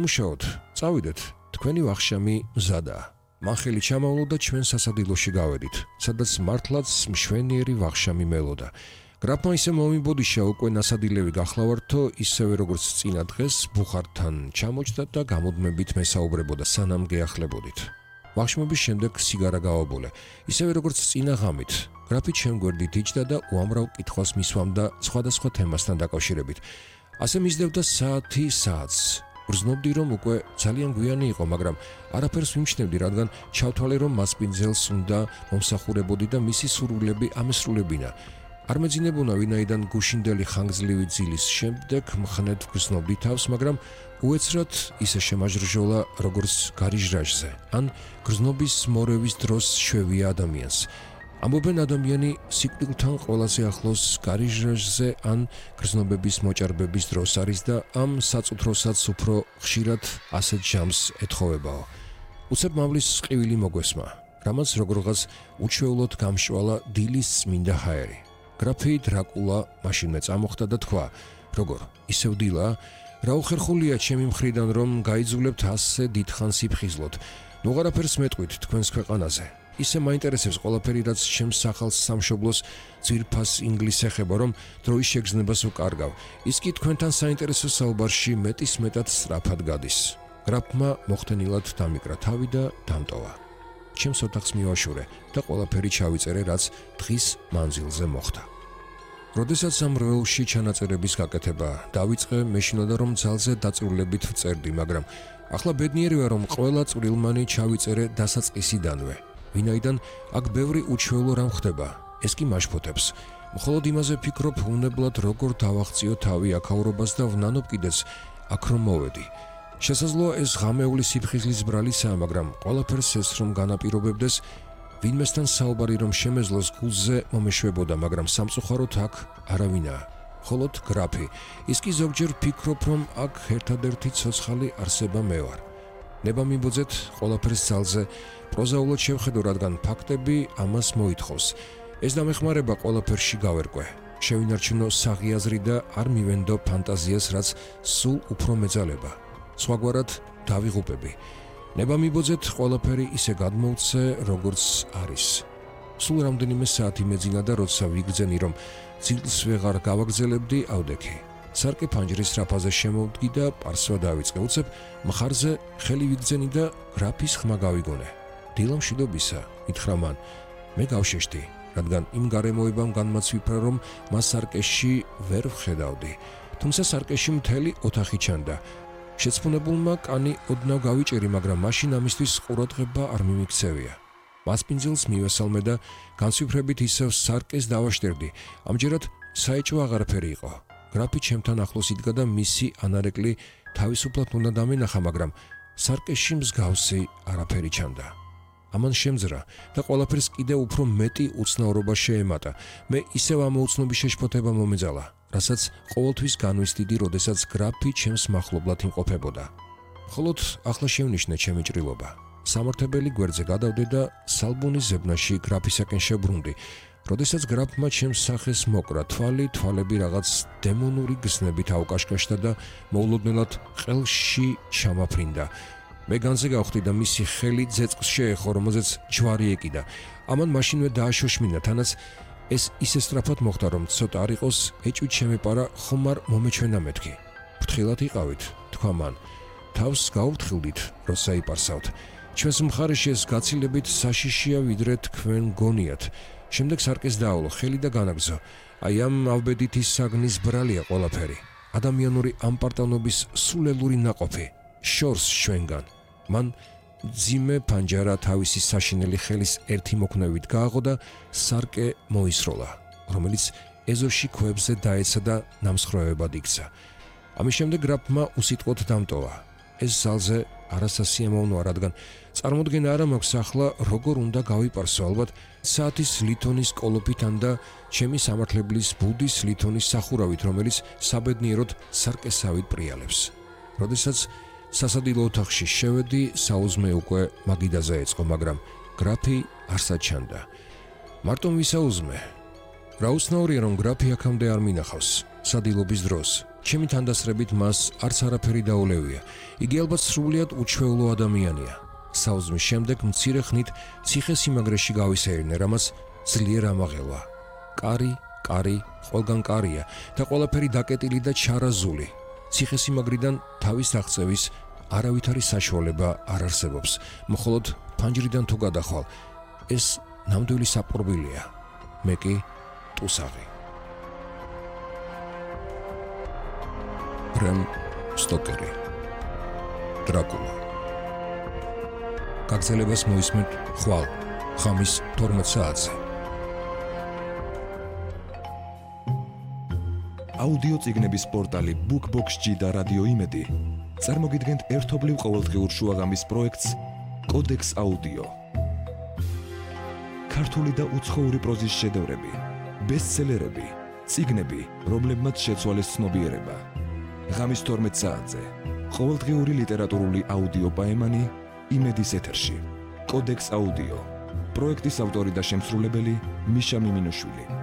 მუშაობთ, წავიდეთ, თქვენი ვახშამი მზადაა. მან ხელი ჩამავლო და ჩვენ სასადილოში გავედით, სადაც მართლაც მშვენიერი ვახშამი მელოდა. გრაფმა ისე მომიბოდიშა უკვე ნასადილევი გახლავართო, ისევე როგორც წინა დღეს ბუხართან ჩამოჭდა და გამუდმებით მესაუბრებოდა, სანამ გეახლებოდით. ვახშმობის შემდეგ სიგარა გავაბოლე, ისევე როგორც წინა ღამით. გრაფი ჩემ გვერდით იჯდა და უამრავ კითხვას მისვამდა სხვადასხვა თემასთან დაკავშირებით. ასე მისდევდა საათი საათს. გრძნობდი, რომ უკვე ძალიან გვიანი იყო, მაგრამ არაფერს ვიმჩნევდი, რადგან ჩავთვალე, რომ მასპინძელს უნდა მომსახურებოდი და მისი სურვილები ამესრულებინა. არ მეძინებონა, ვინაიდან გუშინდელი ხანგრძლივი ძილის შემდეგ მხნედ ვგრძნობდი თავს, მაგრამ უეცრად ისე შემაჟრჟოლა, როგორც გარიჟრაჟზე, ან გრძნობის მორევის დროს შვევია ადამიანს. ამბობენ, ადამიანი სიკვდილთან ყველაზე ახლოს გარიჟრაჟზე ან გრძნობების მოჭარბების დროს არის და ამ საწუთროსაც უფრო ხშირად ასეთ ჟამს ეთხოვებაო. უცებ მამლის ყივილი მოგვესმა, რამაც როგორღაც უჩვეულოდ გამშვალა დილის წმინდა ჰაერი. გრაფი დრაკულა მაშინმე წამოხდა და თქვა, როგორ, ისევ დილა? რა უხერხულია ჩემი მხრიდან, რომ გაიძულებთ ასე დიდხანს იფხიზლოთ. ნუ არაფერს მეტყვით თქვენს ქვეყანაზე. ისე მაინტერესებს ყველაფერი, რაც ჩემს სახალს სამშობლოს ძვირფას ინგლისს ეხება, რომ დროის შეგრძნებას ვკარგავ. ის კი თქვენთან საინტერესო საუბარში მეტის მეტად სწრაფად გადის. გრაფმა მოხდენილად დამიკრა თავი და დამტოვა. ჩემს ოთახს მივაშურე და ყველაფერი ჩავიწერე, რაც დღის მანძილზე მოხდა. როდესაც ამ რვეულში ჩანაწერების გაკეთება დავიწყე, მეშინოდა, რომ ძალზე დაწვრილებით ვწერდი, მაგრამ ახლა ბედნიერი ვარ, რომ ყველა წვრილმანი ჩავიწერე დასაწყისიდანვე. ვინაიდან აქ ბევრი უჩვეულო რამ ხდება, ეს კი მაშფოთებს. მხოლოდ იმაზე ფიქრობ, უნებლად როგორ დავაღწიო თავი აქაურობას და ვნანობ კიდეც აქ რომ მოვედი. შესაძლოა ეს ღამეული სიფხიზლის ბრალისაა, მაგრამ ყველაფერს ეს რომ განაპირობებდეს, ვინმესთან საუბარი რომ შემეძლოს გულზე მომეშვებოდა, მაგრამ სამწუხაროდ აქ არავინაა. მხოლოდ გრაფი. ის კი ზოგჯერ ფიქრობ, რომ აქ ერთადერთი ცოცხალი არსება მე ვარ. ნება მიბოძეთ ყველაფერს ძალზე, პროზაულად შევხედო, რადგან ფაქტები ამას მოითხოვს. ეს დამეხმარება ყველაფერში გავერკვე. შევინარჩუნო საღიაზრი და არ მივენდო ფანტაზიას, რაც სულ უფრო მეძალება. სხვაგვარად დავიღუპები. ნება მიბოძეთ ყველაფერი ისე გადმოვცე, როგორც არის. სულ რამდენიმე საათი მეძინა და როცა ვიგრძენი, რომ ძილს ვეღარ გავაგრძელებდი, ავდექი. სარკე ფანჯრის რაფაზე შემოვდგი და პარსვა დავიწყე. უცებ მხარზე ხელი ვიგრძენი და გრაფის ხმა გავიგონე. დილა მშვიდობისა, ითხრა მან. მე გავშეშდი, რადგან იმ გარემოებამ განმაცვიფრა, რომ მას სარკეში ვერ ვხედავდი. თუმცა სარკეში მთელი ოთახი ჩანდა. შეცფუნებულმა კანი ოდნავ გავიჭერი, მაგრამ მაშინ ამისთვის ყურადღება არ მიმიქცევია. მასპინძელს მივესალმე და განცვიფრებით ისევ სარკეს დავაშტერდი. ამჯერად საეჭვო აღარაფერი იყო. გრაფი ჩემთან ახლოს იდგა და მისი ანარეკლი თავისუფლად უნდა დამენახა, მაგრამ სარკეში მსგავსი არაფერი ჩანდა. ამან შემძრა და ყველაფერს კიდევ უფრო მეტი უცნაურობა შეემატა. მე ისევ ამ უცნობის შეშფოთება მომეძალა, რასაც ყოველთვის განვისდიდი, როდესაც გრაფი ჩემს მახლობლად იმყოფებოდა. მხოლოდ ახლა შევნიშნე ჩემი ჭრილობა. სამართებელი გვერდზე გადავდე და სალბუნის ზებნაში გრაფისაკენ შევბრუნდი. როდესაც გრაფმა ჩემს სახეს მოკრა, თვალები რაღაც დემონური გზნებით აუკაშკაშდა და მოულოდნელად ყელში ჩამაფრინდა. მე განზე გავხდი და მისი ხელი ძეწს შეეხო, რომელზეც ჯვარი ეკიდა. ამან მაშინვე დააშოშმინა, თანაც ეს ისე სწრაფად მოხდა, რომ ცოტა არ იყოს ეჭვით შემეპარა, ხომ არ მომეჩვენა მეთქი. ფრთხილად იყავით, თქვა მან. თავს გაუფრთხილდით, როცა იპარსავთ. ჩვენს მხარეში ეს გაცილებით საშიშია, ვიდრე თქვენ გონიათ. შემდეგ სარკეს დაავლო ხელი და განაგზო. აი ამ ავბედითი საგნის ბრალია ყველაფერი. ადამიანური ამპარტანობის სულელური ნაყოფი. შორს ჩვენგან. მან ძიმე პანჯარა თავისი საშინელი ხელის ერთი მოქნევით გააღო და სარკე მოისროლა, რომელიც ეზოში ქვებზე დაეცა და ნამსხვრევებად იქცა. ამის შემდეგ გრაფმა უსიტყვოდ დამტოვა. ეს ძალზე არასასიამოვნოა, რადგან წარმოდგენა არ მაქვს ახლა როგორ უნდა გავიპარსო, ალბათ საათის ლითონის კოლოფითან და ჩემი სამართლებლის ბუდის ლითონის სახურავით, რომელიც საბედნიეროდ სარკესავით პრიალებს. როდესაც სასადილო ოთახში შევედი, საუზმე უკვე მაგიდაზე ეწყო, მაგრამ გრაფი არ საჩანდა. მარტო ვისაუზმე. რა უცნაურია, რომ გრაფი აქამდე არ მინახავს სადილობის დროს. ჩემი თანდასრებით მას არც არაფერი დაულევია. იგი ალბათ სრულიად უჩვეულო ადამიანია. საუზმის შემდეგ მცირე ხნით ციხე-სიმაგრეში გავისეირნე, რამაც ძლიერ ამაღელვა. კარი, ყველგან კარია და ყველაფერი დაკეტილი და ჩარაზული. ციხე-სიმაგრიდან თავის აღწევის არავითარი საშუალება არ არსებობს. მხოლოდ ფანჯრიდან თუ გადახვალ, ეს ნამდვილი საპყრობილია. მე კი ტუსაღი. ბრემ სტოკერი. დრაკულა. გაგრძელებას მოისმენთ ხვალ ხამის 12 საათზე. აუდიო წიგნების პორტალი BookBox-G და რადიო იმედი წარმოგიდგენთ ერთობლივ ყოველდღიურ შუაღამის პროექტს კოდექს აუდიო. ქართული და უცხოური პროზის შედევრები, ბესტსელერები, წიგნები, რომლებმაც შეცვალეს ცნობიერება. ღამის 12 საათზე ყოველდღიური ლიტერატურული აუდიო პაემანი იმედის ეთერში. კოდექს აუდიო. პროექტის ავტორი და შემსრულებელი მიშა მიმინოშვილი.